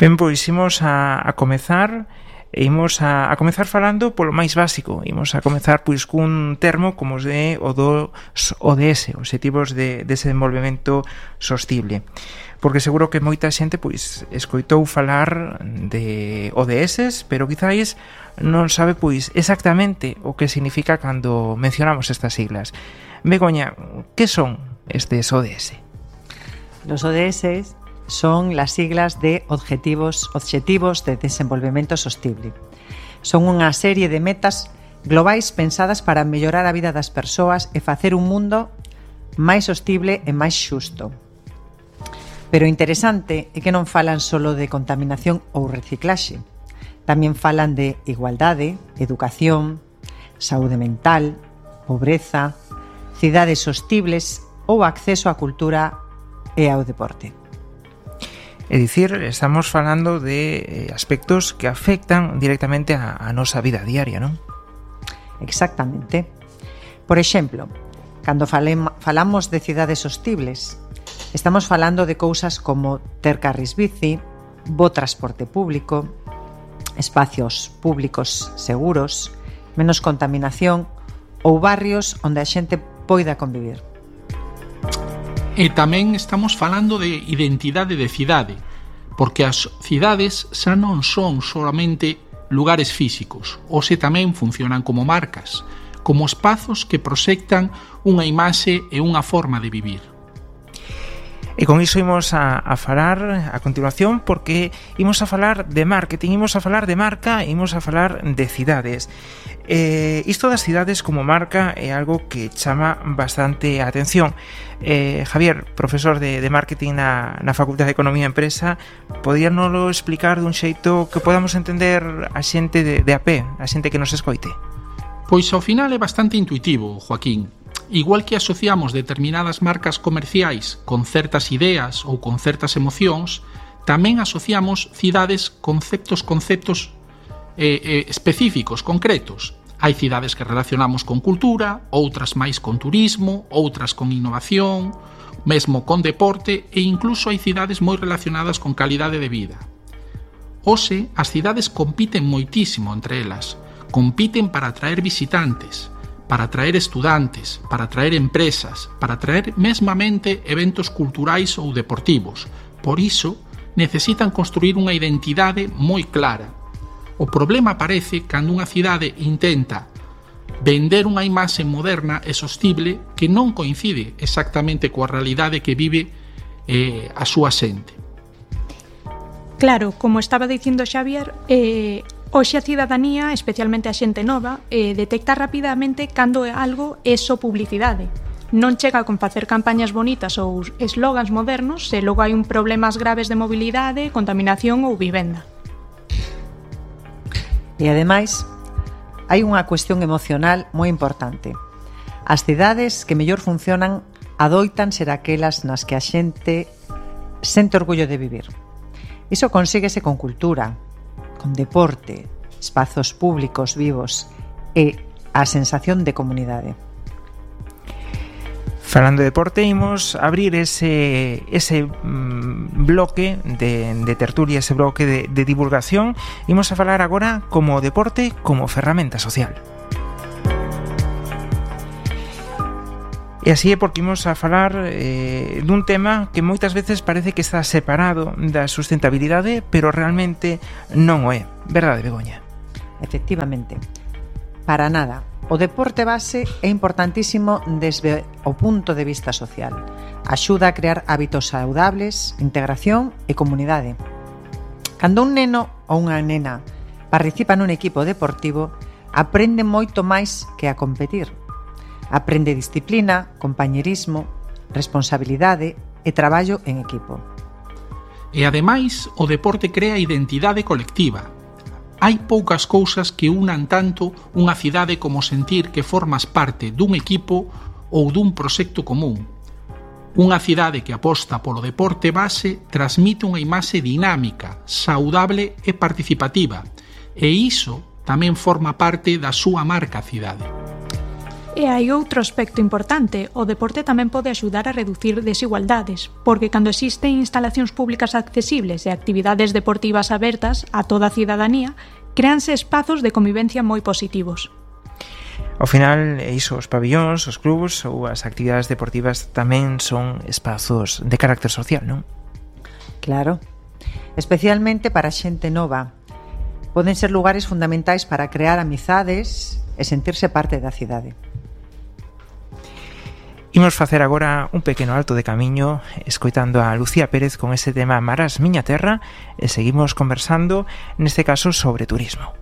Ben, pois imos a comezar falando polo máis básico. Imos a comezar pois cun termo como os de o dos ODS, Obxectivos de Desenvolvemento Sostible. Porque seguro que moita xente pois escoitou falar de ODS, pero quizáis non sabe pois exactamente o que significa cando mencionamos estas siglas. Begoña, que son estes ODS? Los ODS son las siglas de Objetivos de Desenvolvemento Sostible. Son unha serie de metas globais pensadas para mellorar a vida das persoas e facer un mundo máis sostible e máis xusto. Pero o interesante é que non falan solo de contaminación ou reciclaxe. Tamén falan de igualdade, educación, saúde mental, pobreza, cidades sostibles ou acceso á cultura e ao deporte. É dicir, estamos falando de aspectos que afectan directamente a nosa vida diaria, non? Exactamente. Por exemplo, cando falamos de cidades sostibles, estamos falando de cousas como ter carris bici, bo transporte público, espacios públicos seguros, menos contaminación ou barrios onde a xente poida convivir. E tamén estamos falando de identidade de cidade, porque as cidades xa non son solamente lugares físicos, hoxe tamén funcionan como marcas, como espazos que proxectan unha imaxe e unha forma de vivir. E con iso imos a falar a continuación, porque imos a falar de marketing, imos a falar de marca, imos a falar de cidades. Isto das cidades como marca é algo que chama bastante a atención. Javier, profesor de marketing na Facultade de Economía e Empresa, podíanolo explicar dun xeito que podamos entender a xente de a pé, a xente que nos escoite? Pois ao final é bastante intuitivo, Joaquín. Igual que asociamos determinadas marcas comerciais con certas ideas ou con certas emocións, tamén asociamos cidades con conceptos específicos, concretos. Hai cidades que relacionamos con cultura, outras máis con turismo, outras con innovación, mesmo con deporte e incluso hai cidades moi relacionadas con calidade de vida. Hoxe, as cidades compiten moitísimo entre elas. Compiten para atraer visitantes, para atraer estudantes, para atraer empresas, para atraer mesmamente eventos culturais ou deportivos. Por iso, necesitan construir unha identidade moi clara. O problema aparece cando unha cidade intenta vender unha imaxe moderna e sostible que non coincide exactamente coa realidade que vive a súa xente. Claro, como estaba dicindo Xavier, hoxe a cidadanía, especialmente a xente nova, detecta rapidamente cando algo é só publicidade. Non chega con facer campañas bonitas ou eslogans modernos se logo hai un problemas graves de mobilidade, contaminación ou vivenda. E ademais, hai unha cuestión emocional moi importante. As cidades que mellor funcionan adoitan ser aquelas nas que a xente sente orgullo de vivir. Iso consíguese con cultura, con deporte, espazos públicos vivos e a sensación de comunidade. Falando de deporte, imos abrir ese bloque de tertulia, ese bloque de divulgación. Imos a falar agora como deporte como ferramenta social. E así é porque imos a falar dun tema que moitas veces parece que está separado da sustentabilidade, pero realmente non o é. Verdade, Begoña? Efectivamente. Para nada. O deporte base é importantísimo desde o punto de vista social. Axuda a crear hábitos saudables, integración e comunidade. Cando un neno ou unha nena participa nun equipo deportivo, aprende moito máis que a competir. Aprende disciplina, compañerismo, responsabilidade e traballo en equipo. E ademais, o deporte crea identidade colectiva. Hai poucas cousas que unan tanto unha cidade como sentir que formas parte dun equipo ou dun proxecto común. Unha cidade que aposta polo deporte base transmite unha imaxe dinámica, saudable e participativa, e iso tamén forma parte da súa marca cidade. E hai outro aspecto importante, o deporte tamén pode axudar a reducir desigualdades, porque cando existen instalacións públicas accesibles e actividades deportivas abertas a toda a cidadanía, créanse espazos de convivencia moi positivos. Ao final, iso, os pabillóns, os clubs ou as actividades deportivas tamén son espazos de carácter social, non? Claro, especialmente para xente nova. Poden ser lugares fundamentais para crear amizades e sentirse parte da cidade. Imos facer agora un pequeno alto de camiño escoitando a Lucía Pérez con ese tema Marás Miña Terra e seguimos conversando, neste caso, sobre turismo.